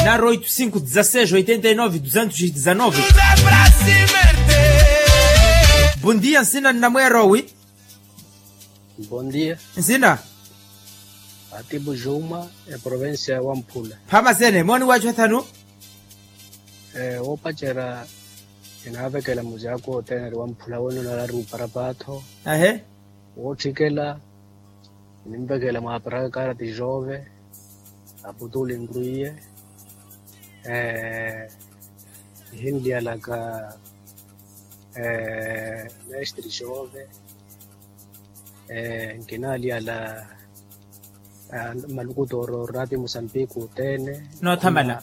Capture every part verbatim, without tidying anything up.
Naro oito cinco dezasseis oitenta e nove duzentos e dezanove. Bondia nsina nnamwerowi. Bondia. Nsina. Atibu juma, eprovincia ya wamphula. Phamasene moni wachu athanu. Woopacerya kinaavekela mujaku othene eri wamphula wene onalari uparapaatho. Ahe. Wootthikela. Ninvekela mwaparaka karati jove. Aputuli nrwiye. Nihinliyalaka mestre jove. Nkinaliyala malukutooro rati musambiki othene. Noothamala.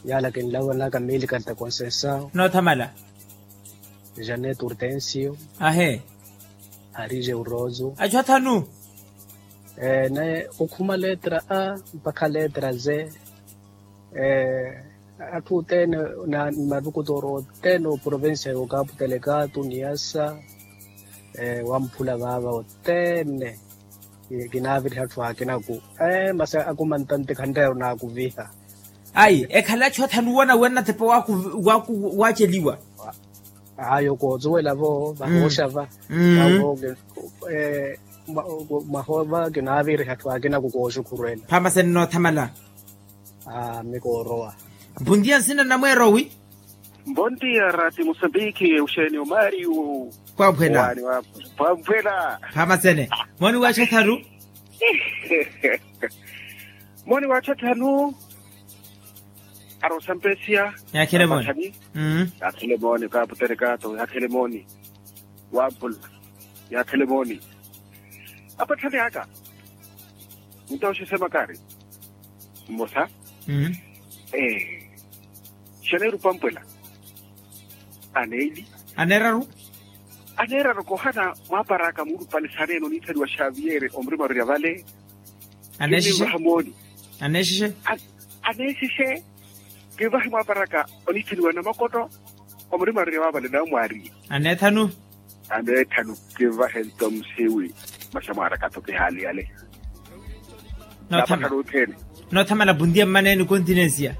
Yala kinlawanaka mili kalta concesao. Noothamala. Janet urtensio. Ahe. Arije urozo. Achu athanu. Naye okhuma letra a mpakha letra z. Atthu othene na malukutooro othene oprovincia ya okapu telekatu niyasa. Wamphula vaava othene. Kinaaviriha atthu akinaku. Masi akumantanti khanreero naakuviha. Ayi ekhala achu athanu wona wennathepa waaceliwa. Ayo koocuwela vo vahooxa va. Vavo mwahoova kinaaviriha atthu akinaku kooxukhurwela. Phamasene noothamala. Mikoorowa. Mbontiya nsina nnamweerowi. Mbontiya rati musambiki uxeeni omaariyu. Pwamphwela. Pwamphwela. Phamasene. Moni wachu athanu. Moni wachu athanu. Arosampesiya. Yaakhile moni. Yaakhile moni kaputerekato yaakhile moni. Wampula. Yaakhile moni. Apatthani aka. Nto oxisema kari. Mmosa. Ee. Xaneeru pampwela. Aneeli. Aneeraru. Aneeraru koohana mwaparaka muulupale saneene oniithaliwa xaviyeere omurima orerya vale. Aneexixe. Aneexixe. Aneexixe. Kivahi mwaparaka oniithaliwa namakoto. Omurima orerya vale nawe mwaariye. Aneethanu. Aneethanu. Kivahe nto musiwi. Masi mwaaraka-tho kihaali yale. Noothamala. Noothamala puntiya mmaneeni continencia.